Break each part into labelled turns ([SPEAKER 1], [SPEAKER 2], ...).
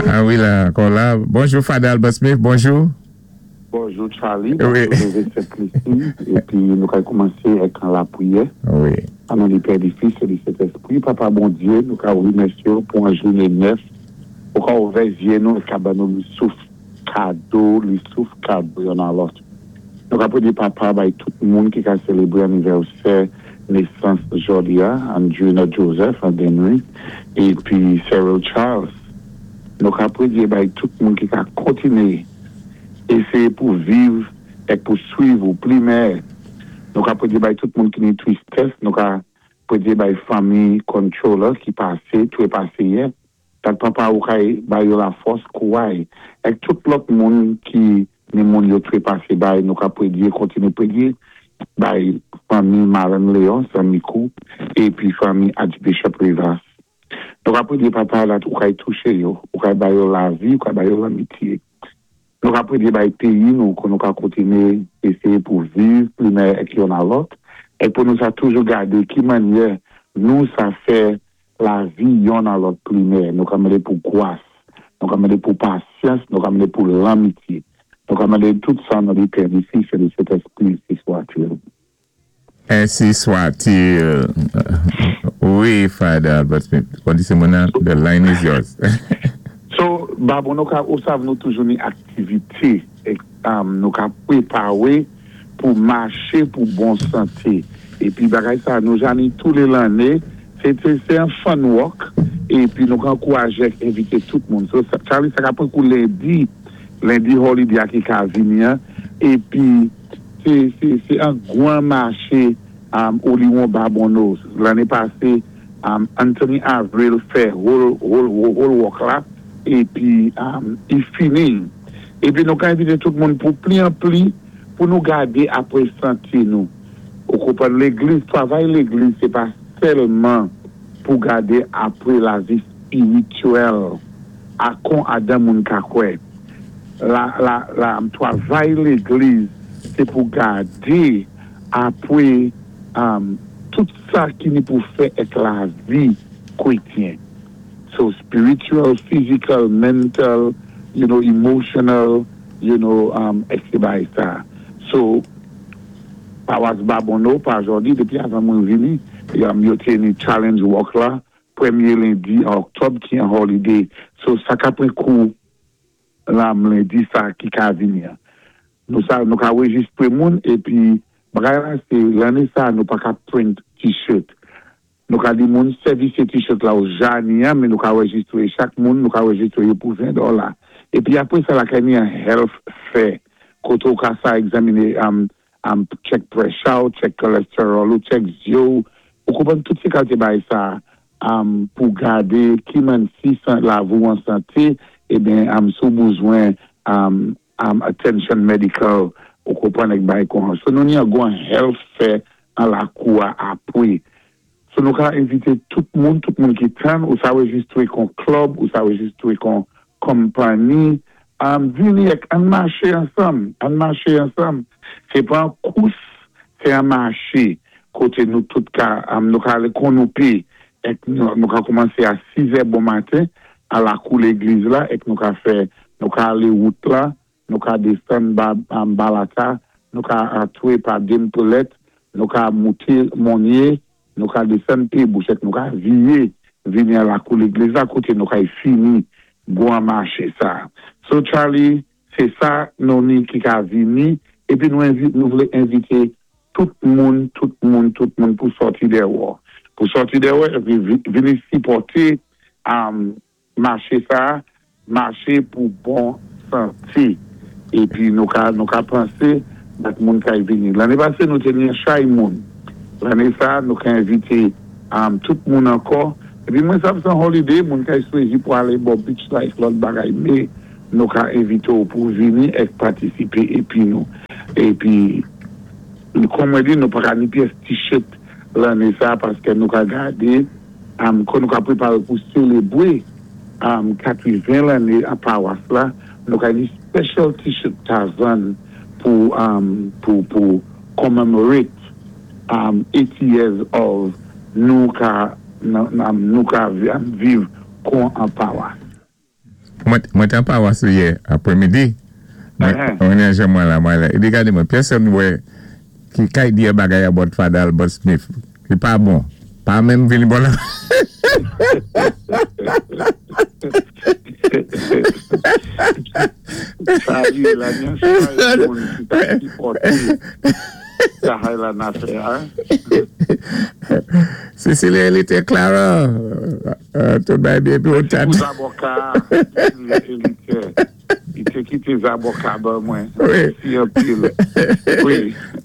[SPEAKER 1] Ah wi, la, ankò la. Bonjou, Father Albert Smith, bonjou.
[SPEAKER 2] Bonjou Charlie, bonjou Lévêque Saint-Lucie, épi nou ka koumansé ak an lapriyè.
[SPEAKER 1] Wi.
[SPEAKER 2] An non di Pè, di Fis é di Sentèspri, Papa Bondyé, nou ka remèsyé ou pou an jouné nèf, ou ka ouvè zyé nou é ka ban nou li souf kado, li souf kado yonn a lòt. Nou ka prédé Papa bay tout moun ki ka sélébré anivèsè nésans jòdi a, Andrina Joseph, Henry, épi Cyril Charles. Nou ka prédé bay tout moun ki ka kontiné éséyé pou viv èk pou swiv ou pli mèyè. Nou ka prédé bay tout moun ki ni twistès, nou ka prédé bay fanmi Controller ki pasé, twépasé yè. Dat Papa ou kay bay yo lafòs, kouray, èk tout lòt moun ki ni moun yo twépasé bay nou ka prédé kontiné prédé bay fanmi Marenn Léon, San Mikou, épi fanmi Archbishop Rivas. Nou ka prédé Papa dat ou kay touché yo, ou kay ba yo lavi, ou kay ba yo lanmityé. Nou ka prédé bay péyi nou kou nou ka kontiné éséyé pou viv pli mèyè èk yonn a lòt, èk pou nou sa toujou gadé ki mannyè nou sa fè lavi yonn a lòt pli mèyè. Nou ka mandé pou gwas, nou ka mandé pou pasyans, nou ka mandé pou lanmitye. Nou ka mandé tout sa an non di Pè, di Fis é di Sentèspri, ensi swa-t-il.
[SPEAKER 1] Ainsi soit-il. Wi, Father Albert Smith. Kondisyon moun nan, the line is yours.
[SPEAKER 2] So, Babon nou ka, ou sav nou toujou ni aktivité nou ka pwépawé pou maché pou bon santé. Épi bagay sa nou ja ni tou lé lanné, sé sé sé an fun walk épi nou ka ankourajé ak envité tout moun. So, Charlie sa ka pran kou lendi, lendi holiday a ki ka vini an épi. Se an gwan mache Oliwon Babonneau. Lanné pasé, Anthony Avril fè whole walk la épi i fini. Épi nou ka envité tout moun pou pli an pli pou nou gadé apwé santé nou. Ou konprann légliz, twavay légliz sé pa sèlman pou gadé apwé lavi spirityèl a kon adan moun ka kwè. La la la twavay légliz sé pou gadé apwé tout sa ki ni pou fè èk lavi kwétyen. So spiritual, physical, mental, emotional, èk sé bagay sa. So pawas Babonneau pa jòdi dépi avan mwen vini yo té ni challenge walk la pwémyé lendi an Oktòb ki an holiday. So sa ka pran kou lam lendi sa ki ka vini an. Nou sa nou ka rejistre moun épi bagay la sé lanné sa nou pa ka print t-shirt. Nou ka di moun sèvisé t-shirt la ou ja ni an men nou ka rejistre chak moun nou ka rejistre yo pou 20 dòla. Épi apwé sa lakay ni an health fair koté ou ka sa egzaminé check pressure ou, check cholesterol ou, check zyé ou, ou konprann tout sé kalité bagay sa pou gadé ki mann si lavi ou an santé eben si ou bezwen attention medical ou konprann èk bagay kon. So nou ni an gwan health fair an lakou a apwé. So nou ka envité tout moun, tout moun ki tann, ou sa rejistre kon club, ou sa rejistre kon company, vini èk ann maché ansanm, ann maché ansanm. Sé pa an kous, sé an maché koté nou tout ka, nou ka alé kon nou pé, èk nou ka koumansé a 6 è bon maten a lakou légliz la èk nou ka fè, nou ka alé wout la, nou ka désann ba Balata, nou ka antwé pa Dempelet, nou ka mouté Monnier, nou ka désann Pébouch èk nou ka viyé vini a lakou légliz la koté nou kay fini gwan maché sa. So Charlie, sé sa nou ni ki ka vini épi nou envi nou vlé envité tout moun, tout moun, tout moun pou sòti dèwò. Pou sòti dèwò épi vini sipòté maché sa, maché pou bon santé. Épi nou ka nou ka pansé dat moun kay vini. Lanné pasé nou té ni an chay moun. Lanné sa nou ka envité tout moun ankò. Épi mwen sav sé an holiday, moun kay swézi pou alé bò beach la èk lòt bagay mé nou ka envité ou pou vini èk patisipé épi nou. Épi kon mwen di nou pa ka ni pyès t-shirt lanné sa paskè nou ka gadé kon nou ka pwéparé pou sélébwé 80 lanné an pawas la, nou ka ni special t-shirt ka vann pou pou pou commemorate 80 years of nou ka nou ka viv. Kon an pawas.
[SPEAKER 1] Mwen té an pawas ou yè aprè midi. Mwen ni an mwen la mwen la. I di gadé mwen pèsonn wè ki kay di yon bagay about Father Albert Smith ki pa bon. Pa menm vini bò la.
[SPEAKER 2] Charly la gen chay moun ki ta sipòte travay la na fè a.
[SPEAKER 1] Cecilia Elite Clara tout bagay byen epi ou
[SPEAKER 2] tat. Pou zaboka a Cecilia Elite li te kite zaboka ban mwen mèsi anpil wi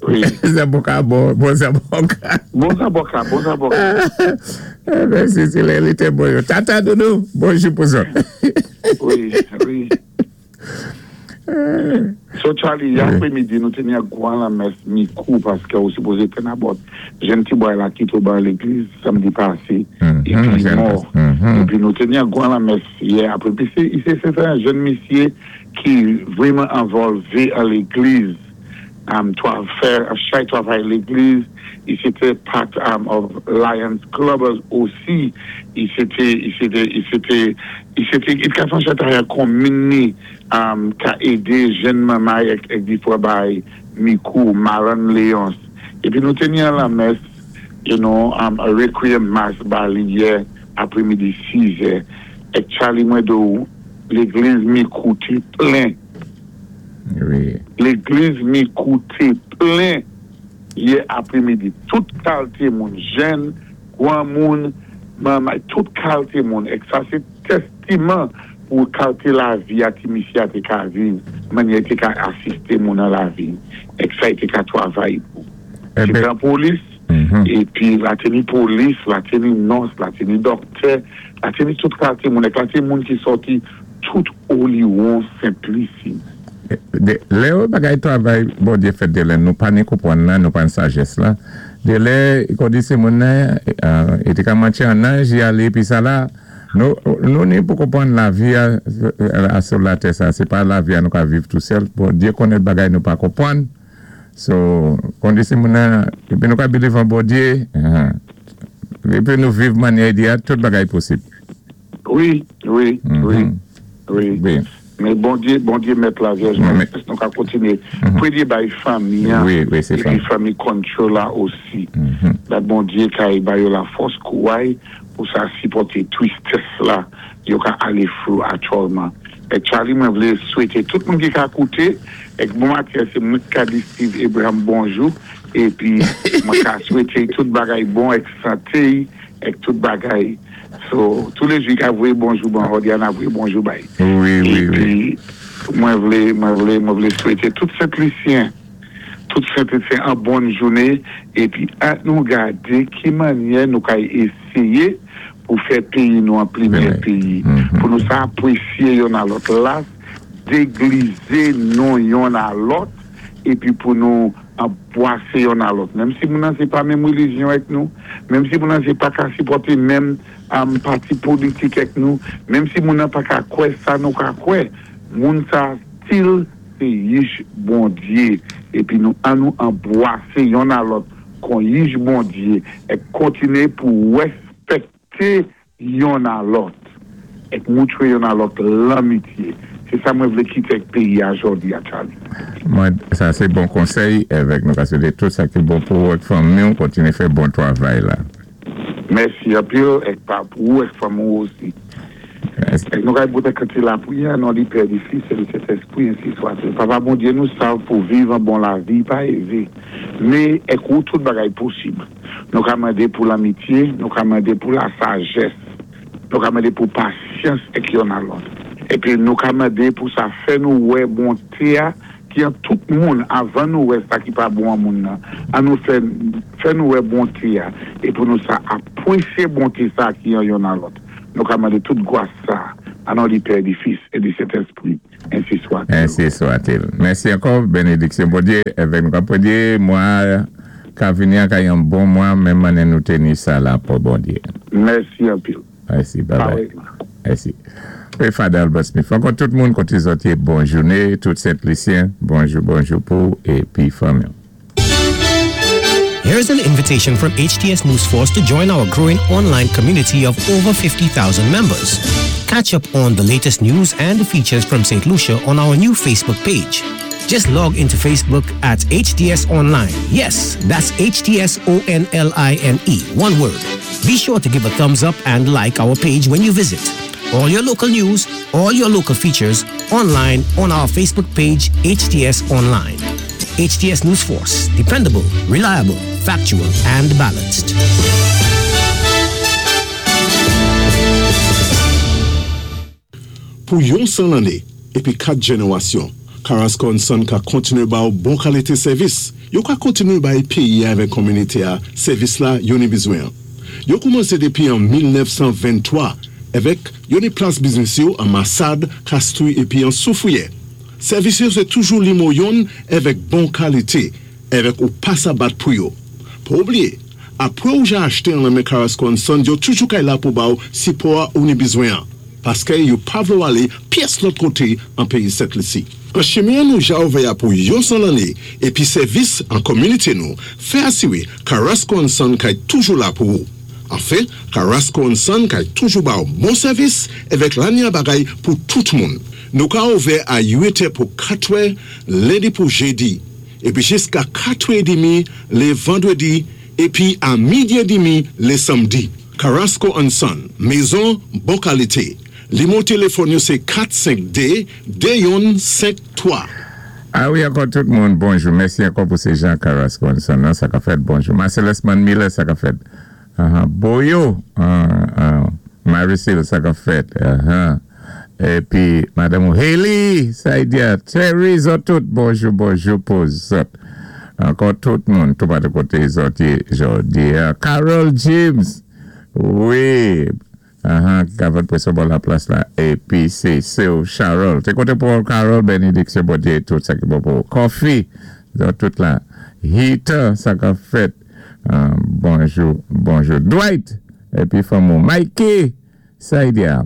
[SPEAKER 1] wi. Zaboka bon bon zaboka.
[SPEAKER 2] Bon zaboka bon zaboka.
[SPEAKER 1] Mèsi Cecilia Elite bon yo tata doudou bonjou pou zòt.
[SPEAKER 2] Wi wi. So Charly, yè apremidi nou te ni gwan lanmès mikou paskè ou sipoze tenn abòt jenn ti bway la kite ou ban legliz samdi pase epi li mò epi nou te ni gwan lanmès yè apremidi se se te yon jenn misye ki vreman envòlve an legliz fè chay travay legliz li se te part of Lions Club osi li se te li se te li se te li se te li ka fè yon chay travay an konmin ni ka ede jenn manmay ek difran bay mikou Marann Léonce epi nou te ni an lanmès you know a requiem mass ba li yè apremidi 6 zè ek Charly mwen di w legliz mikou te plen. Legliz Mikou te plen yè apremidi. Tout kalte moun, jèn, gwanmoun, manmay, tout kalte moun. Ek sa se testiman pou kalte lavi a ti misye a te ka viv, mannyè li te ka asiste moun nan lavi, ek sa li te ka twavay pou. Se te an polis, epi la te ni polis, la te ni nòs, la te ni dòktè, la te ni tout kalte moun. Ek la te moun ki sòti tout Oliwon Senplisi.
[SPEAKER 1] Lè yo bagay travay Bondye fèt de lè nou pa ni konpwann nan nou pa ni sajès la de lè kondise moun nan e te ka manche an anj li ale epi sa la nou nou ni pou konpwann lavi a a sou latè sa se pa lavi a nou ka viv tou sèl Bondye konnen bagay nou pa konpwann so kondise moun nan epi nou ka biliv an Bondye epi nou viv manyè li a tout bagay posib.
[SPEAKER 2] Wi wi wi wi men Bondye Bondye mèt la vyèj Mari nou ka kontinye premye bay fanmi an epi fanmi Conchola osi dat Bondye ka ba yo la fòs kouray pou sa sipòte tristès la yo ka ale through actualman et Charly mwen vle swete tout moun ki ka koute et bon maten se mwen ki ka di Steve Abraham bonjou epi mwen ka swete tout bagay bon et sante et tout bagay. So toulejou li ka voye bonjou ban Hodiana voye bonjou bay.
[SPEAKER 1] Wi wi
[SPEAKER 2] wi. Epi mwen vle mwen vle mwen vle swete tout sentlisyen tout sentlisyen an bòn joune epi an nou gade ki mannyè nou kay eseye pou fè peyi nou an pli meyè peyi pou nou sa apresye yonn a lòt las deglize nou yonn a lòt epi pou nou Anbwase yonn a lòt. Menm si moun nan se pa menm relijyon èk nou, menm si moun nan se pa ka sipòte menm pati politik èk nou, menm si moun nan pa ka kwè sa nou ka kwè, moun sa stil se yich Bondye. Epi nou an nou anbwase yonn a lòt kon yich Bondye èk kontine pou rèspèkte yonn a lòt, èk moutre yonn a lòt lanmitye. Se sa mwen vle kite èk peyi a jòdi a Charly.
[SPEAKER 1] Mwen, sa se bon konsèy, evèk nou ka swete tout sa ki bon pou ou èk fanmi ou, kontinye fè bon twavay la.
[SPEAKER 2] Mèsi anpil èk pa pou ou èk fanmi ou osi. Èk nou kay bout èk kanti lapriyè an non di Pè di Fis e di Sentespri ensi swatil. Papa Bondye nou sav pou viv an bon lavi pa eze, me èk ou tout bagay posib. Nou ka mande pou lanmitye, nou ka mande pou lasajès, nou ka mande pou pasyans ek yonn a lòt. Epi nou ka mande pou sa fè nou wè bonte a ki an tout moun avan nou wè sa ki pa bon an moun nan. An nou fè fè nou wè bonte a e pou nou sa apresye bonte sa ki an yonn a lòt. Nou ka mande tout gwas sa a non di Pè, di Fis e di Sentespri.
[SPEAKER 1] Ensi swatil. Ensi swatil. Mèsi ankò, benediksyon Bondye avèk nou. Kap Bondye mwa ka vini an ka yon bon mwa menm ane nou teni sa la pou Bondye.
[SPEAKER 2] Mèsi anpil.
[SPEAKER 1] Mèsi babay. Mèsi. Wi Father Albert Smith. Ankò tout moun kote zòt ye bon joune tout Sent Lisyen bonjou bonjou pou epi fanmiw.
[SPEAKER 3] Here's an invitation from HTS News Force to join our growing online community of over 50,000 members. Catch up on the latest news and features from St. Lucia on our new Facebook page. Just log into Facebook at HTS Online. Yes, that's HTS O N L I N E, one word. Be sure to give a thumbs up and like our page when you visit. All your local news, all your local features, online on our Facebook page, HTS Online. HTS News Force, dependable, reliable, factual, and balanced.
[SPEAKER 4] Pou yon 100 lanné épi 4 jènérasyon, Carrasco and Son ka kontinué ba-w bon kalité sèvis. Yo ka kontinué bay péyi-a avèk konminité-a sèvis la yo ni bizwen-an. Yo koumansé dépi an 1923 èvèk yo ni plas biznis yo an Masad, Kastri épi an Soufriyè. Sèvis yo sé toujou limo yonn èvèk bon kalité èvèk ou pa sa bat pou yo. Pa oubliyé, apwé ou ja achte an lan men Carrasco and Son yo toujou kay la pou ba-w sipò-a ou ni bizwen-an, paskè yo pa vle-w alé pyès lòt koté an péyi Sent Lisi. An chimen-an nou ja ouvè-a pou yon 100 lanné épi sèvis an konminité nou fè asiré Carrasco and Son kay toujou la pou ou. Anfen, Carrasco and Son kay toujou ba-w bon sèvis èvèk lanya bagay pou tout moun. Nou ka ouvè a 8 è pou 4 è lendi pou jedi, épi jiska 4 è édemi lé vandrédi épi a midi édemi lé sanmdi. Carrasco and Son, mezon bon kalité. Limo téléfòn yo sé 4 5 2 2 yonn 5 3.
[SPEAKER 1] A wi ankò tout moun bonjou mèsi ankò pou se Jean Carrasco and Son nan sa ka fèt bonjou Marcellus Man Miller sa ka fèt ahan Boyo ahan Maricil sa ka fèt ahan epi madanm ou Haley Saidia Terry zòt tout bonjou bonjou pou zòt ankò tout moun toupatou kote zòt ye jodi a Carol James wi Ahan gavòt preso bò laplas la epi se sew Charol te kote pou Carol benediksyon Bondye tout sa ki bon pou ou Coffee zòt tout la Heater sa kap fèt bonjou bonjou Dwight epi fanm ou Mikey Saidia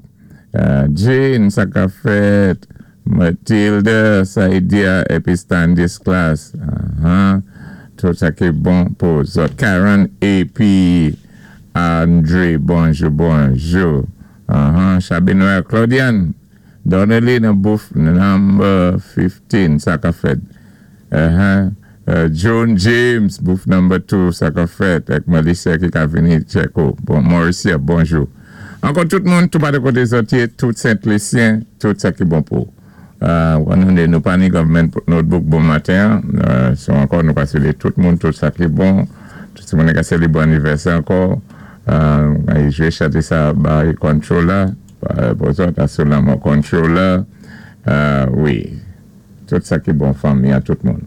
[SPEAKER 1] Jane sa kap fèt Matilde Saidia epi Standisclas ahan tout sa ki bon pou zòt Karen epi Andre bonjou bonjou ahan Chabi Noel Claudiane Donnelly nan booth number 15 sa kap fèt ahan Joan James booth number 2 sa kap fèt ak Melissa ki ka vini check ou bon Mauricia bonjou ankò tout moun tou pade kote zòt ye tout sent lisyen tout sa ki bon pou ou nou pa ni government notebook bon maten an so ankò nou ka salye tout moun tout sa ki bon tout ti moun ka selebre anivèsè ankò jwe chante sa bay controller pou zòt asou lanmò controller wi tout sa ki bon fanmi an tout moun.